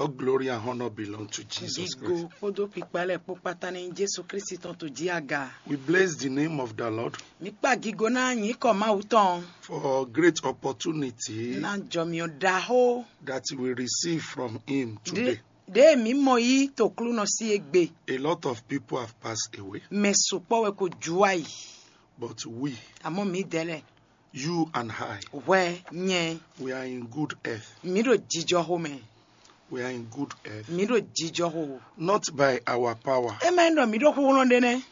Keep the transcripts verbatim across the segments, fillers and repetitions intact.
All glory and honor belong to Jesus Christ. Gigo kpódó kpikpa lɛ́ɛ kpó kpátá ní Jésù Kristi tɔn tó jí aga. We bless the name of the Lord Mǐ kpa gigo ná nyǐkɔ Mawu tɔn for a great opportunity ná jɔmyɔ ɖaxó that we receive from Him today. Ɖé mǐ mɔ yí toklúnɔ sí égbé. A lot of people have passed away, Mɛ sukpɔ́ wɛ ko ju ayi. But we, Àmọ́ mǐdɛɛ lɛ́ɛ you and I, hwɛ nyɛ we are in good health. Mǐ ɖo jijɔxo mɛ. We are in good health. Mǐ ɖo jijɔxo. Not by our power. É má nyí ɖɔ mǐ ɖo xúxlɔ́n ɖé nɛ́.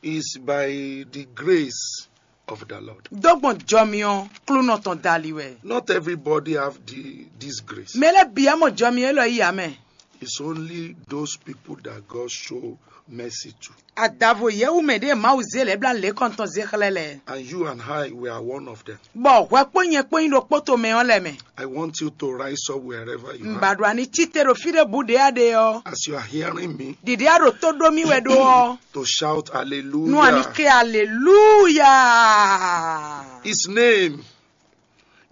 It's by the grace of the Lord. Dó gbɔn jɔmyɔ klúnɔ tɔn dali wɛ. Not everybody have the, this grace. Mɛ lɛ́ɛ bǐ á mɔ jɔmyɔ élɔ́ yí ǎ mɛ. It's only those people that God show mercy to. Adavo yɛwu mɛ ɖě Mawu zé lɛ̌ blá lě kɔntɔn zé xlɛ́ lɛ́ɛ. And you and I, we are one of them. Bɔ hwɛ kpó nyɛ kpó nyí ɖokpó tomɛ ɔ́ lɛ mɛ. I want you to rise up wherever you Un are. ba ɖo ani cí te ɖo fí ɖěbǔ ɖě a ɖe ɔ́. As you are hearing me, Ɖiɖi a ɖo tó ɖó mì wɛ ɖó ɔ́. To shout Nú ani hallelujah. Ké aleluya. His name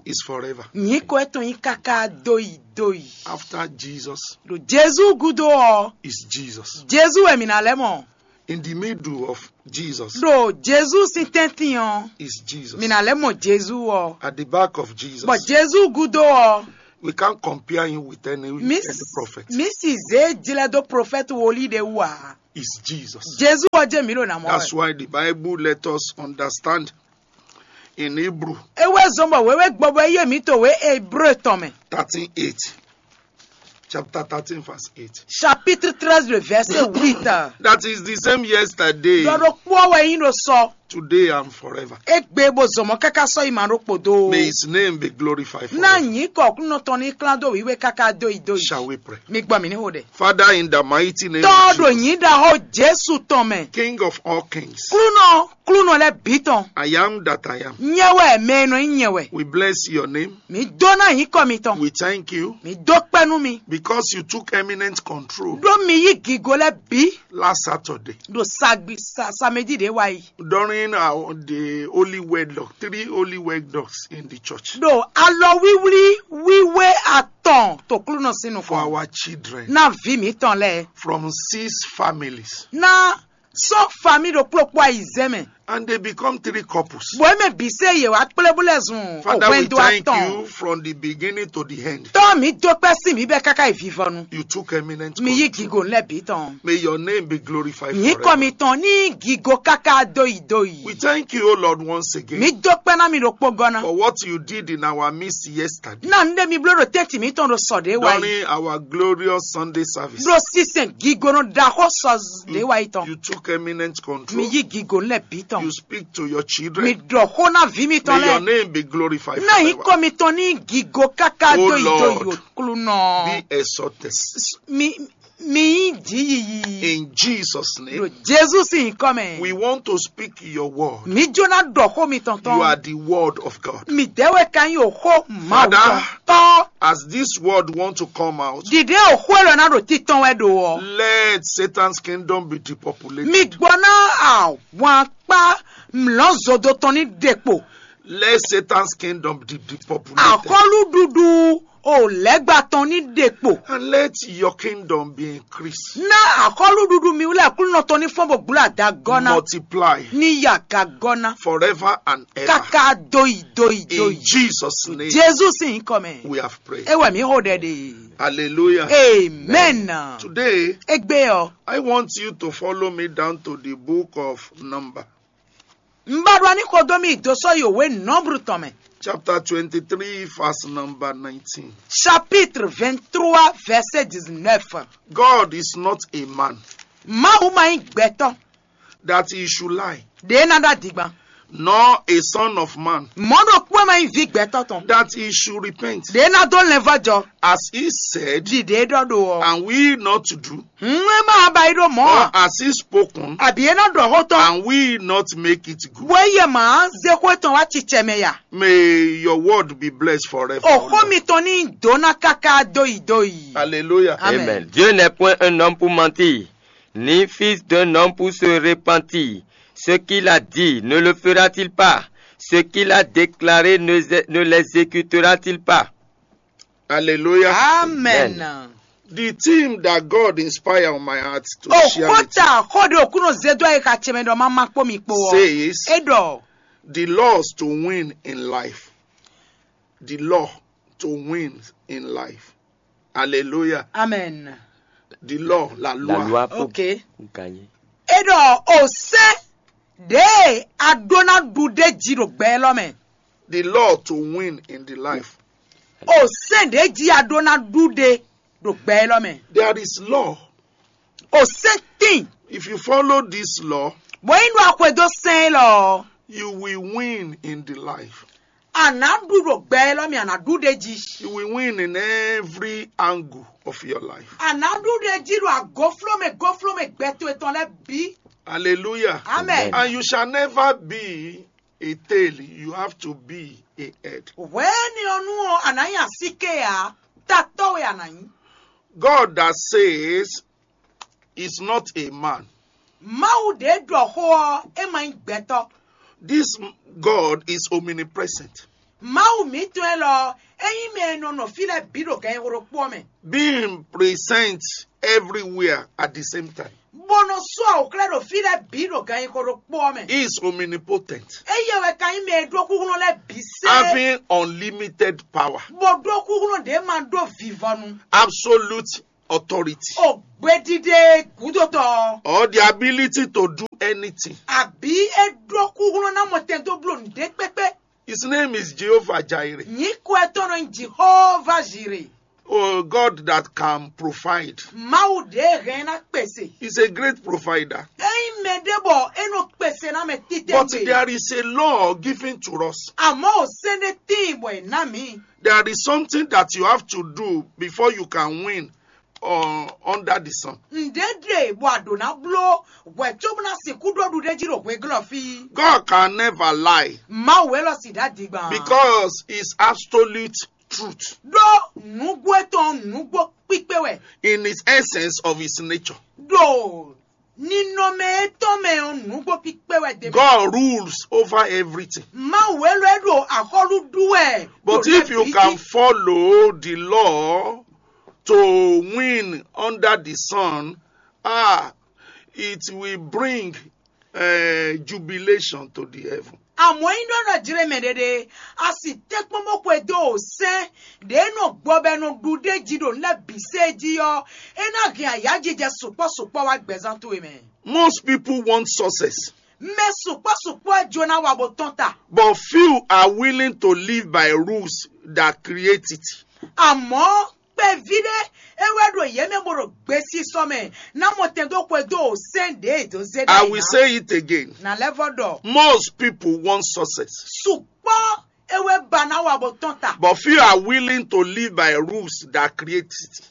is forever. Nyǐkɔ etɔn nyí káká dóyi dóyi. After Jesus Ɖo Jezu gúdo ɔ́, is Jesus. Jezu wɛ mǐ ná lɛ́ mɔ. In the middle of Jesus Ɖo Jezu sín tɛ́ntin ɔ́, is Jesus. Mǐ ná lɛ́ mɔ Jezu ɔ́. At the back of Jesus, Bɔ Jezu gúdo ɔ́, we can't compare him with any, mí any prophet. Mí sì zě jlɛ́ dó profɛ́ti wòlíì ɖé wú ǎ. Is Jesus. Jezu ɔ́ jẹ́ mǐ ɖo nǎ mɔ That's wɛ. Why the Bible let us understand in Hebrew É wɛ zɔn bɔ wěwé gbɔbɔ yé mǐ to wě Hébré tɔn mɛ. thirteen eight. Chapter thirteen, verse eight. Chapitre treize, le verset huit. That is the same yesterday, Ɖɔ ɖokpó ɔ́ wɛ nyí ɖo sɔ. Today, and forever. Égbé bó zɔmɔ káká sɔ́ yi ma ɖokpó dó. May his name be glorified Ná forever. Nyǐkɔ Aklúnɔ tɔn ní klán dó wǐwé káká dó yi dó yi. Shall we pray? Mi gbɔ mì ní xo ɖe. Father, in the mighty name Tɔ́ of ɖo Jesus, nyǐ ɖaxó Jesu tɔn mɛ. King of all kings, Klúnɔ, Klúnɔ lɛ́ bǐ tɔn. I am that I am. Nyɛ wɛ mɛ e nɔ nyí nyɛ wɛ. We bless your name. Mǐ dó ná nyǐkɔ mitɔn. We thank you Mǐ dó kpɛ́ nú mi. Because you took eminent control Ɖó mi yí gǐgo lɛ́ɛ bǐ. Last Saturday. Ɖo sagbi sa samedi ɖě wá yi. During our, the holy wedlock, three holy wedlocks in the church. Ɖo alɔwíwlí wíwé atɔn to Klúnɔ sín For nukɔn. Our children. Ná vǐ mǐtɔn lɛ́ɛ. From six families. Ná sɔ́ famí ɖokpló kpó ayizɛ́ mɛ. And they become three couples. Bɔ é mɛ bǐ se yě wá kplé bó lɛ́ zun Father, we òhwɛndo thank atɔn. You from the beginning to the end. Tɔ́ mi dó kpɛ́ sí mi bɛ́ káká yi vivɔnu. You took eminent Mi yí control. Gígòun lɛ́ bǐ tɔn. May your name be glorified Nyǐkɔ forever. Mitɔn ní gígó káká dóyi dóyi. We thank you, O Lord, once again Mi dó kpɛ́ ná mi ɖokpó gɔ́ ná. For what you did in our midst yesterday. Ná nu ɖé mi bló ɖo tɛ́ntin mǐtɔn ɖo sɔ ɖě wá yi. During our glorious Sunday service. Ɖo sísɛn gígónɔ ɖaxó sɔ ɖě wá yi tɔn. You took eminent control. Mi yí gígó lɛ́ bǐ tɔn. You speak to your Mi children. ɖɔ xó ná vǐ mitɔn May your lɛ́ɛ. Name be glorified Ná forever. Nyǐkɔ Mitɔn ní gígó káká Oh dóyi dóyi Lord. Klúnɔ. Be exalted. Mi mi yí jǐ yiyi. In Jesus' name, Ɖo Jezu sín nyǐkɔ mɛ. We want to speak your word. Mi jó ná ɖɔ xó mitɔn You are tɔn. The word of God. Mi dɛ́ wɛ ka nyí òxó Mawu Father, tɔn. Tɔ́. As this word want to come out, Dìde òxó élɔ́ ná ɖo títɔn wɛ ɖo ɔ́. Let Satan's kingdom be depopulated. Mi gbɔ ná ahwan kpá mlɔ́ zodo tɔn ní ɖe kpo. Let Satan's kingdom be depopulated. Axɔ́lúɖuɖu o lɛ́gba tɔn ní ɖe kpo. And let your kingdom be increased. Ná axɔ́lúɖuɖu mi wú lɛ́ Aklúnɔ tɔn ní fɔ́n bó gblo adagɔ́ ná. Multiply Ní yí agagɔ́ ná. Forever and ever. Káká dóyi dóyi In dóyi. Jesus' name, Jezu sín nyǐkɔ mɛ. We have prayed. É wɛ mǐ xo ɖɛ ɖe. Hallelujah. Amen. Today, Égbé ɔ́. I want you to follow me down to the book of Number, Un ba ɖo aní xo dó mì dó sɔ́ yi òwe Nɔ́blu tɔn mɛ. Chapter twenty-three, verse number nineteen. Chapitre vingt-trois, verset dix-neuf. God is not a man Mawu ma nyí gbɛtɔ́. That he should lie, Ɖě ná ɖó adigban. Nor a son of man, Mɔ̌ ɖokpó ma nyí vǐ gbɛtɔ́ tɔn. That he should repent. Ɖě ná dó lɛnvɔ́ jɔ. As he said, Ɖiɖě é ɖɔ ɖo ɔ́. And we not to do. Ŋu é ma ba yi ɖó mɔ̌ Or a. As he spoken, Àbí é ná ɖɔ xó tɔn. And we not make it good. Bó é yɛ mǎ zé xó tɔn wá cicɛ mɛ ya. May your word be blessed forever. Òxó mitɔn ní dó ná káká dóyi dóyi. Hallelujah. Amen. Amen. Dieu n'est point un homme pour mentir, ni fils d'un homme pour se repentir. Ce qu'il a dit, ne le fera-t-il pas? Ce qu'il a déclaré, ne, ne l'exécutera-t-il pas? Hallelujah. Amen. The theme that God inspired on my heart to share with you Òkúta xóde òkúnú zedó ayé ka tse mɛ ɖɔ má má kpó mi kpo ɔ. says É ɖɔ the laws to win in life. The law to win in life. Hallelujah. Amen. The law, la loi. La loi pour Ok. gagner. É ɖɔ òsɛn ɖě a ɖó ná ɖu ɖé jí ɖo gbɛ élɔ́ mɛ. The law to win in the life. Òsɛn ɖě jí a ɖó ná ɖu ɖé ɖo gbɛ élɔ́ mɛ. There is law. Òsɛn tín. If you follow this law, Bɔ yín ɖo axwedó sɛn élɔ́. you will win in the life. A nǎ ɖu ɖo gbɛ élɔ́ mɛ, a nǎ ɖu ɖé jí. You will win in every angle of your life. A nǎ ɖu ɖé jí ɖo agofló mɛ gofló mɛ gbɛ towe tɔn lɛ́ɛ bǐ. Hallelujah. Amen. And you shall never be a tail, you have to be a head. Hwɛ̌ni ɔ́ nú ɔ́, a nǎ nyí asíké ǎ, tatɔ́ wɛ a nǎ nyí. God that says is not a man. Mawu ɖě ɖɔ xó ɔ́, é ma nyí gbɛtɔ́. This God is omnipresent, Mawu mǐtɔn élɔ́, é nyí mɛ e nɔ nɔ fí lɛ́ɛ bǐ ɖo gǎnnyixo ɖokpó ɔ́ mɛ, being present everywhere at the same time. bó nɔ sú awǔxlɛ́ ɖo fí lɛ́ɛ bǐ ɖo gǎnnyixo ɖokpó ɔ́ mɛ. He is omnipotent, Éyɛ́ wɛ ka nyí mɛ e ɖó xúxlɔ́ lɛ́ɛ bǐ sɛ́, having unlimited power, bó ɖó xúxlɔ́ ɖě ma ɖó vivɔnu, absolute authority, o gbeɖiɖe gǔdotɔ, or the ability to do anything. Àbí é ɖó xúxlɔ́ ná mɔ tɛn dó bló nǔɖé kpékpé. His name is Jehovah Jireh. Nyǐkɔ ɛ tɔn nɔ nyí Jihova Zire. Oh, God that can provide. Mawu ɖě hɛn ná kpèsè. He's a great provider. É nyí mɛ ɖé bɔ é nɔ kpèsè ná mɛ But títɛ́. There is a law given to us. Àmọ́ ò sɛ́n ɖé tíin bɔ è ná mǐ. There is something that you have to do before you can win uh, under the sun. Ǹdé ɖe bɔ a ɖǒ ná bló hwɛ̌ cóbó ná sixú ɖó ɖuɖéjí ɖo hweglɔ́ fí. God can never lie Mawu élɔ́ sì ɖá digban. Because it's absolute truth Ɖó nǔgbó étɔn nǔgbó kpíkpé wɛ. In his essence of his nature. Ɖo ninɔmɛ étɔn mɛ ɔ́ nǔgbó kpíkpé wɛ dé. God rules over everything. Mawu élɔ́ é ɖo axɔ́lú ɖú wɛ. But if you can follow the law to win under the sun, ah, it will bring uh, jubilation to the heaven. Àmọ́ yín ɖɔ nɔ jlé mɛ ɖéɖé, a sì tɛ́nkpɔ́n bó xwedó sɛ́n ɖě nɔ gbɔ bɔ è nɔ ɖu ɖ'é jí ɖo nǔ lɛ́ɛ bǐ sée jí ɔ́, é ná hɛn ayǎjijɛ sukpɔ́ sukpɔ́ wá gbɛzán towe mɛ. Most people want success, Mɛ sukpɔ́ sukpɔ́ ɛ jó ná wa bó tɔ́n ta. But few are willing to live by rules that create it. Àmọ́ kpɛví ɖé é wɛ ɖo yě mɛ bó ɖo gbesisɔ mɛ ná mɔ tɛn dó xwedó sɛ́n ɖě è dó zé I ɖ'ayǐ will ná. Say it again. Ná lɛ́ vɔ ɖɔ Most people want success, sukpɔ́ é wɛ ba ná wa bó tɔ́n ta. But few are willing to live by rules that create it.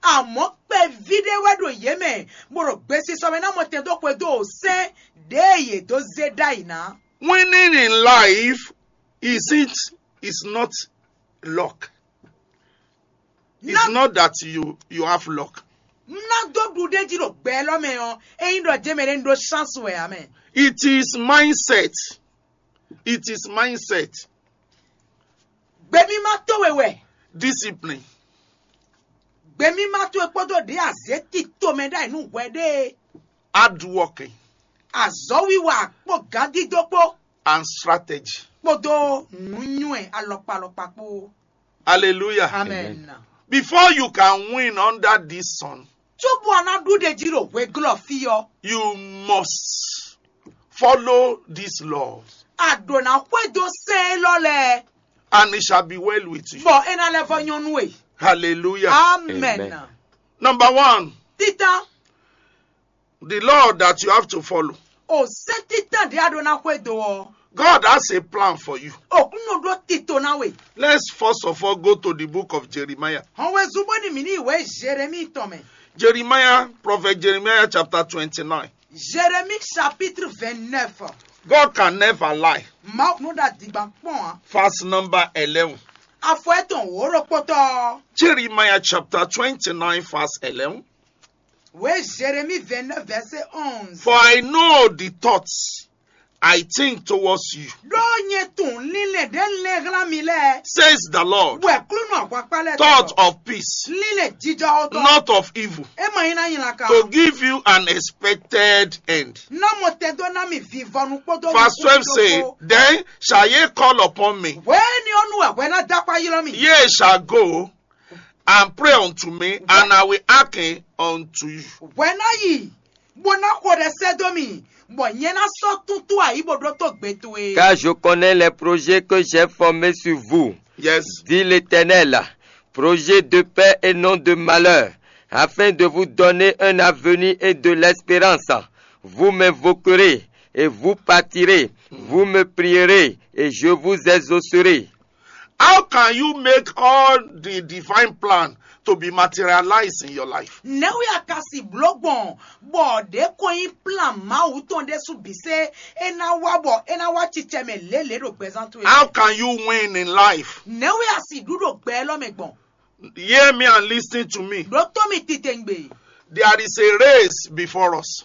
Àmọ́ kpɛví ɖé wɛ ɖo yě mɛ bó ɖo gbesisɔ mɛ ná mɔ tɛn dó xwedó sɛ́n ɖě è yě dó zé ɖ'ayǐ ná. Winning in life isn't is not luck. It's Ná- not that you you have luck. Ná dó ɖu ɖ'é jí ɖo gbɛ élɔ́ mɛ ɔ́, é nyí ɖɔ jɛ́mɛ ɖé ń ɖó chance wɛ ǎ mɛ. It is mindset. It is mindset. Gbemímá towe wɛ. Discipline. Gbemímá towe kpódó ɖě azě tito mɛ ɖ'ayǐ nú hwɛ ɖé. Hard working. Azɔ̌wiwa kpó gǎndídó kpó. And strategy. Kpódó nǔnywɛ alɔkpa alɔkpa kpó. Hallelujah. Amen. Before you can win under this sun, Cóbó a ná ɖu ɖ'é jí ɖo hweglɔ́ fí ɔ́, you must follow these laws. A ɖǒ ná xwedó sɛ́n élɔ́ lɛ́ɛ, And it shall be well with you. Bɔ é ná lɛ́ vɔ nyɔ́ nú we. Hallelujah. Amen. Amen. Number one, Títán, the law that you have to follow. O sɛ́n títán ɖě a ɖó ná xwedó ɔ́, God has a plan for you. Òkúnnú ɖó tito ná we. Let's first of all go to the book of Jeremiah. Hɔn wezun bó ní mǐ ní ìwé Jérémie tɔn mɛ. Jeremiah, prophet Jeremiah chapter twenty-nine. Jérémie chapitre vingt-neuf. God can never lie. Mawu nú ɖa dǐgbà kpɔn ǎ. Verse number eleven. Afɔ etɔn wǒ ɖokpótɔ́. Jeremiah chapter twenty-nine, verse eleven. Wé Jérémie vingt-neuf verset onze. For I know the thoughts I think towards you, Ɖó nyɛ tunwun linlɛn ɖě un lɛ́n hlán mi lɛ́ɛ, says the Lord, wɛ Aklúnɔ ahwankpá lɛ́ɛ thought tɔn. Of peace, Linlɛn jijɔxɔ tɔn. Not of evil, É ma nyí ná nylá ka. To give you an expected end. Ná mɔ tɛn dó ná mi vivɔnu kpódó Verse twelve nukúnmí say, ɖokpó. Then shall ye call upon me, Hwɛ̌ni ɔ́ nu wɛ hwɛ ná dó akpá ylɔ́ mi. Ye shall go and pray unto me, and I will hearken unto you. Hwɛ ná yi, bó ná xo ɖɛ sɛ́ dó mi, bɔ nyɛ ná sɔ́ túntú ayǐ bó ɖótó gbe towe. Car je connais les projets que j'ai formés sur vous, Yes. Dit l'Éternel, projets de paix et non de malheur, afin de vous donner un avenir et de l'espérance. Vous m'invoquerez et vous partirez. Vous me prierez et je vous exaucerai. How can you make all the divine plan to be materialized in your life? Nɛ̌ wɛ a ka si blǒ gbɔn bɔ ɖě ko nyí plan Mawu tɔn ɖésú bǐ sé é ná wá bɔ é ná wá cicɛ mɛ lělě ɖo gbɛzán towe? How can you win in life? Nɛ̌ wɛ a si ɖu ɖo gbɛ élɔ́ mɛ gbɔn? Hear me and listen to me. Ɖótó mi titewungbe. There is a race before us.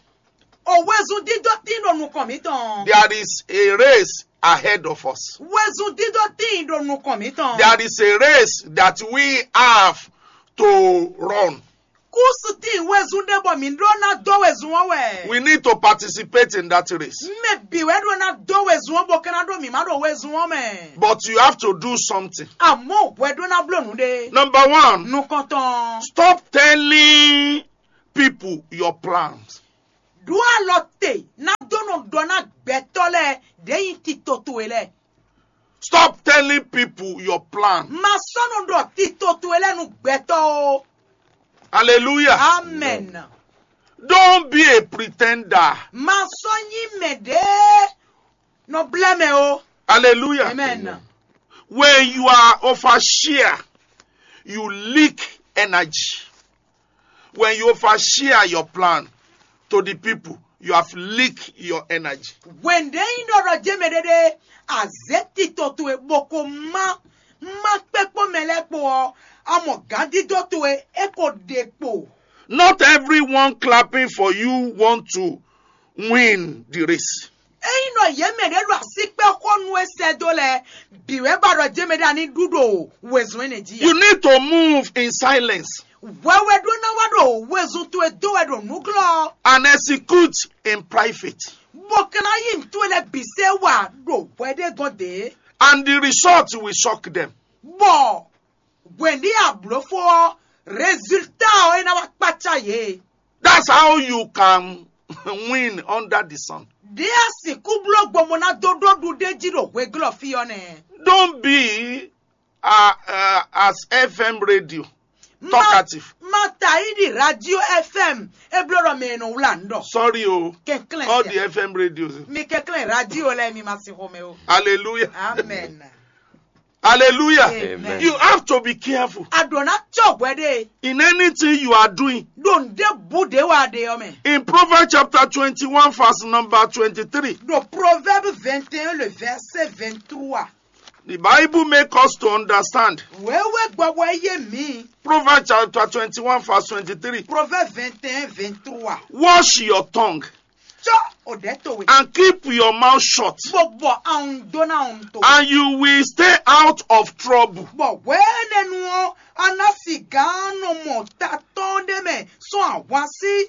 O wezun dídó tín ɖo nukɔn mǐtɔn. There is a race ahead of us. Wezun dídó tín ɖo nukɔn mǐtɔn. There is a race that we have to run. Kúsu tín wezun ɖé bɔ mǐ ɖó ná dó wezun ɔ́ wɛ. We need to participate in that race. Mɛ bǐ wɛ ɖó ná dó wezun ɔ́ bó ka ná ɖó mǐ má ɖo wezun ɔ́ mɛ. But you have to do something. Àmọ́ hwɛ ɖó ná bló nǔ ɖé. Number one, Nukɔntɔn. Stop telling people your plans. Ɖó alɔ te ná dó nɔ ɖɔ ná gbɛtɔ́ lɛ́ɛ ɖě nyí tito towe lɛ́ɛ. Stop telling people your plan. Ma sɔ́ nɔ ɖɔ tito towe lɛ́ɛ nú gbɛtɔ́ o. Hallelujah. Amen. Don't be a pretender. Ma sɔ́ nyí mɛɖée nɔ blɛ́ mɛ o. Hallelujah. Amen. When you are overshare, you leak energy. When you overshare your plan to the people, you have leaked your energy. Wěndé nyí ɖɔ ɖɔ jɛ́ mɛ ɖéɖé azě tito towe bó ko má má kpé kpó mɛ lɛ́ɛ kpo ɔ́, a mɔ gǎndídó towe é ko ɖe kpo. Not everyone clapping for you want to win the race. Ényí ɖɔ yě mɛ ɖě ɖo asíkpɛ́ xó nú é sɛ́ dó lɛ́ɛ, bǐ wɛ ba ɖɔ jɛ́ mɛ ɖé a ní ɖu ɖo wezun énɛ́ jí. You need to move in silence Hwɛhwɛ ɖó ná wá ɖo wezun towe dó wɛ ɖo nǔglɔ́, and execute in private. Bó ka ná yí nǔ towe lɛ́ɛ bǐ sɛ wá ɖo hwɛ ɖé gɔ́n dě. And the result will shock them. Bɔ hwɛ̌ndí ablǒfó ɔ́, résultat ɔ́ é ná wá kpácá yě. That's how you can win under the sun. Ɖě a sixú bló gbɔn bó ná dó ɖó ɖuɖéjí ɖo hweglɔ́ fí ɔ́ nɛ́. Don't be uh, uh, as F M radio talkative. Mata yi ɖi radio F M e bló ɖɔ mɛ e nɔ wlá nǔ ɖɔ. Sorry, oh, Kɛnklɛn all sia. The F M radios. Mi kɛnklɛn radio lɛ́ɛ mi ma sin xomɛ o. Hallelujah. Amen. Hallelujah. Amen. You have to be careful A ɖǒ ná cɔ hwɛ ɖe in anything you are doing. ɖo nǔɖé bǔ ɖě wá ɖe ɔ́ mɛ. In Proverbs chapter twenty-one, verse number twenty-three, Ɖo Proverbe vingt et un le verset vingt-trois. The Bible makes us to understand. Wěwé gbɔbɔ yé mi. Proverbs chapter twenty-one, verse twenty-three. Proverbe vingt et un vingt-trois. Wash your tongue Cɔ o ɖɛ towe. And keep your mouth shut, Bó bɔ ahun dó ná ahun to. And you will stay out of trouble. Bɔ hwɛ̌nɛnu ɔ́, a ná si gǎn nɔ mɔ ta tɔn ɖé mɛ sɔ́ ahwan sí.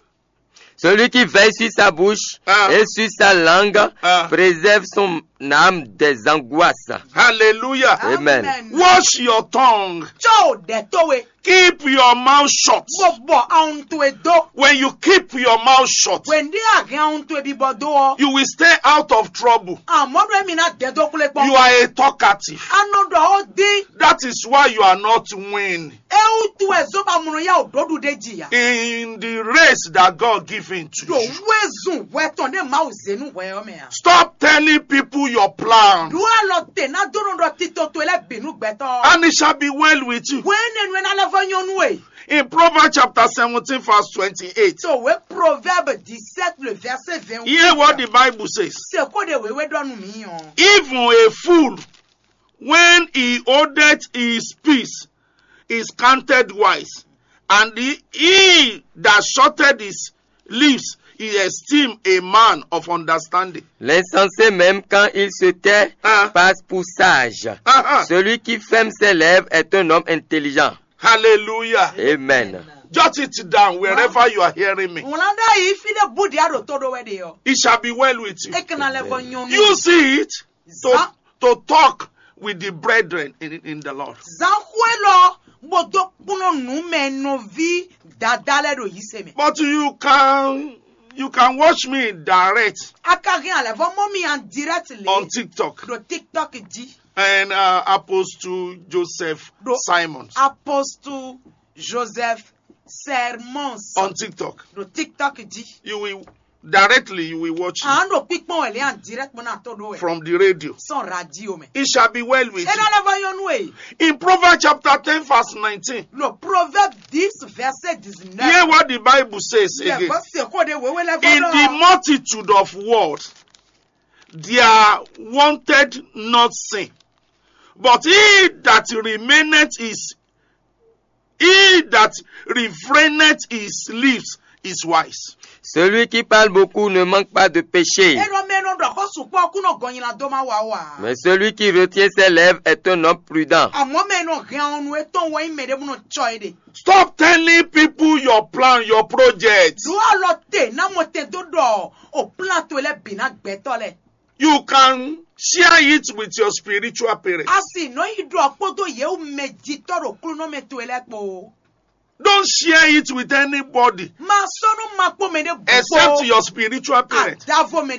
Celui qui veille sur sa bouche Ah. et sur sa langue Ah. Préserve son âme des angoisses. Hallelujah. Amen. Wash your tongue. Cɔ o ɖɛ towe. Keep your mouth shut. Bó bɔ ahun towe dó. When you keep your mouth shut, Wěndé ahɛn ahun towe bíbɔ dó ɔ́. You will stay out of trouble. Àmọ́ ɖo èmi ná dɛ dó kplé kpɔ́n. You are a talkative. A nɔ ɖɔ ó dín. That is why you are not winning É wútu wɛ zó ba mlɔ yá ò ɖó ɖuɖé jì yá. In the race that God given to Ɖo you. wézun hwɛ tɔn ɖé Mawu zé nú hwɛ ɔ́ mɛ a. Stop telling people your plan. Ɖó alɔ te ná dó nɔ ɖɔ tito towe lɛ́ɛ bǐ nú gbɛtɔ́. And it shall be well with you. Hwɛ́nɛnu ɛ ná lɛ́ vɔ nyɔ́nú e. In Proverbs chapter seventeen, verse twenty-eight. Tòwé Proverbe dix-sept le verset vingt-huit. Hear what the Bible says. Sèkó de wéwé ɖɔ nú mi ɔn. Even a fool, when he holdeth his peace, is counted wise, and he, he that shutteth his lips He esteem a man of understanding. L'insensé même, quand il se tait, Hein? Passe pour sage. Uh-huh. Celui qui ferme ses lèvres est un homme intelligent. Hallelujah. Amen. Jot it down wherever you are hearing me. Wlán ɖ'ayǐ fí ɖé bú ɖě a ɖo tó ɖó wɛ ɖe ɔ. It shall be well with you. É kɛ́ ná lɛ vɔ nyɔnu. You see it? To, Zan- to talk with the brethren in, in the Lord. Zan xwé lɔ bó dó kplɔ́n nǔ mɛ nɔví dada lɛ́ ɖo yí se mɛ. But you can you can watch me direct A ka hɛn alɛ vɔ mɔ mi en direct on lé TikTok ɖo TikTok jí. and uh, Apostle Joseph Do- Simons Apostle Joseph Sermons on TikTok. ɖo TikTok jí. You will directly you will watch it À ń ɖo pípọ́n wẹ̀ lé en direct mọ́ náà tó ɖó wẹ̀. From the radio. Sɔn radio mɛ. It shall be well with É ná you. lɛ vɔ nyɔnu e. In Proverbs chapter ten verse nineteen, Lo Proverbe dix verset dix-neuf. Hear what the Bible says Yɛ again. bɔ se xó ɖe wéwé lɛ In vɔ the náà. multitude of words, there wanted not sin, but he that remaineth is he that refraineth his lips is wise. Celui qui parle beaucoup ne manque pas de péché. Enɔ mɛ nɔ ɖɔ xɔ sukpɔ kú nɔ gɔnyi la dó ma wa wa. Mais celui qui retient ses lèvres est un homme prudent. Àmọ́ mɛ nɔ hɛn ɔnu etɔn wɔ nyi mɛ ɖé bó nɔ tsɔ é ɖe. Stop telling people your plan, your project. Ɖó alɔ te ná mɔ tɛn dó ɖɔ o plan to lɛ bǐ ná gbɛtɔ lɛ. You can share it with your spiritual parents. A sì nɔ yi ɖɔ kpódó yewu mɛ jitɔ ɖo klúnɔmɛ to lɛ kpo. Don't share it with anybody Ma sɔnu ma kpó mɛ ɖé except gbogbo. Your spiritual parents. Adavo mɛ